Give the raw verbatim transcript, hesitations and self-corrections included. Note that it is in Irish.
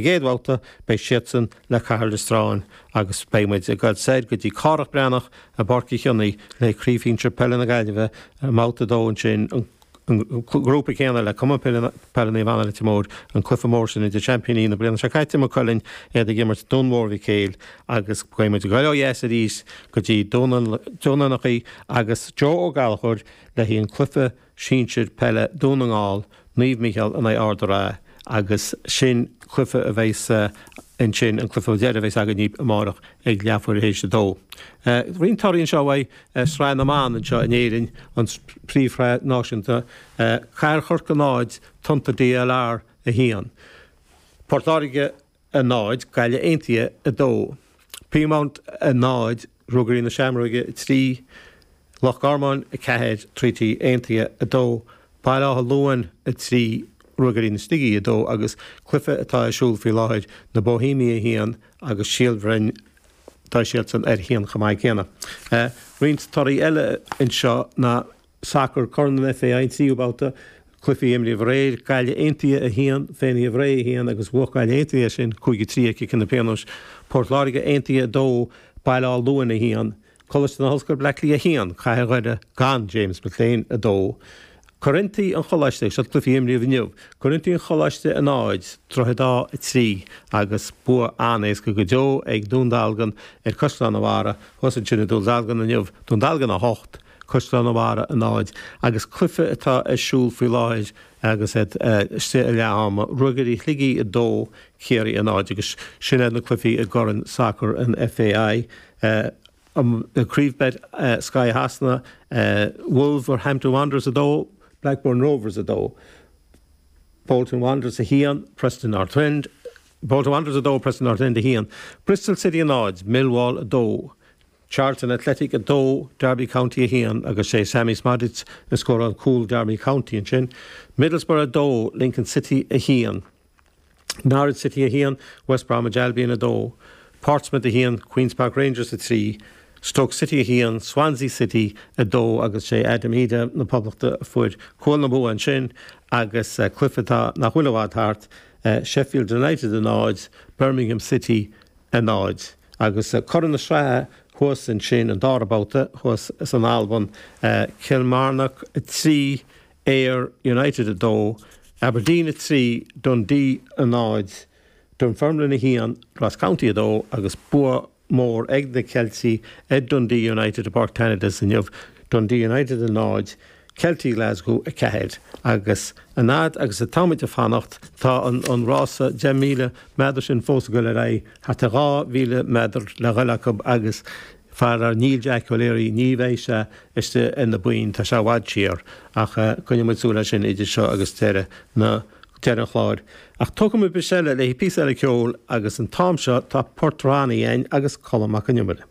gcéad bhabhta, beidh siadsan le Cathair Loistreáin agus beidh muid ag dul soir go dtí Cárthach Breathnach i bPáirc Uí Chionnaith le Craobh Shinsir Peile na Gaillimhe i mbabhta a dó ansin, an grúpa céanna le Cumann Peile Naomh Anna Leitir Móir, an cluiche mór sin idir seaimpíní na bliana seo caite, Maigh Cuilinn, iad ag imirt Dún Mór Mhic Éil agus beidh muid ag dul ó dheas arís go dtí Dún an Fhionnachaidh agus Joe Ó Gallchóir le haghaidh an cluiche sinsir peile Dún na nGall, Naomh Mícheál in aghaidh Ard an Rátha agus sin cluiche a bheas ansin, an cluiche deiridh a bheas againn amárach ag leathuair théis a dó. Roinnt torthaí anseo uaidh Sraith na mBan anseo in Éirinn, an príomhshraith náisiúnta, Cathair Chorcaí náid, Tonnta DLR a haon. Port Láirge a náid, Gaillimh Aontaithe a dó. Peamount a náid, Ruagairí na Seamróige a trí, Loch Garman a ceathair, Treaty Aontaithe a dó, Baile Átha Luain a trí, Ruagairí na Sligigh a dó agus cluiche atá ar siúl faoi láthair, Na Boihéamaigh a haon agus Síol Bhroin, tá siadsan ar a haon chomh maith céanna. Roinnt torthaí eile anseo ná sacar Corn an FAI, an tríú babhta, cluichí imrithe aréir, Gaillimh Aontaithe a haon, Féinnithe Bhré a haon agus bhuaigh Gaillimh Aontaithe é sin cúig a trí ag ciceanna pionóis, Port Láirge Aontaithe a dó, Baile Átha Luain a haon, Coláiste na hOllscoile Bleá Cliath a haon, Cathair Dhoire gan James McClean a dó, Corinthi an Choláiste, seo cluichí imrithe inniu, Corinthi an Choláiste a náid, Droichead Átha a trí agus bua an-éasca go deo ag Dún Dealgan ar Caisleán an Bharraigh thuas ansin i Dún Dealgan inniu, Dún Dealgan a hocht, Caisleán an Bharraigh a náid agus cluiche atá ar siúl faoi láthair agus iad istigh i leath ama, Ruagairí Shligigh a dó, Ciarraí a náid agus sin iad na cluichí i gCorn Sacair an FAI. Craobh Bet Sky Shasana, Wolverhampton Wanderers a dó, Blackburn Rovers a dó, Bolton Wanderers a haon, Preston North End, Bolton Wanderers a dó, Preston North End a haon, Bristol City a náid, Millwall a dó, Charlton Athletic a dó, Derby County a haon agus sé Sammy Szmodics a scóráil cúl Derby County ansin, Middlesbrough a dó, Lincoln City a haon. Norwich City a haon, West Bromwich Albion a dó, Portsmouth a haon, Queens Park Rangers a trí, Stoke City a haon, Swansea City a dó agus sé Adam Idah na Poblachta a fuair cúl na bua ansin agus cluiche atá nach bhfuil i bhfad thart, Sheffield United a náid, Birmingham City a náid. Agus curaidh na sraithe thuas ansin, an dara babhta thuas san Albain, Kilmarnock a trí, Ayr United a dó, Aberdeen a trí, Dundee a náid, Dunfermline a haon, Ross County a dó agus bua mór ag na Ceiltigh ar Dundee United i bPáirc Tannadice inniu, Dundee United a náid, Ceiltigh Glasgow a ceathair. Agus an fhad agus atáimid ag fanacht tá an rása deich míle méadar sin fós ag dul ar aghaidh, thart ar dhá mhíle méadar le dhul acu agus Faraor níl Jack O'Leary, ní bheidh sé istigh ar na boinn, tá sé i bhfad siar, ach coinneoidh muid súil air sin idir seo agus deireadh na, deireadh an chláir. Ach tógfaidh muid briseadh eile le haghaidh píosa eile ceoil agus an t-am seo tá Port Ronnie againn agus Colm Mac Con Iomaire.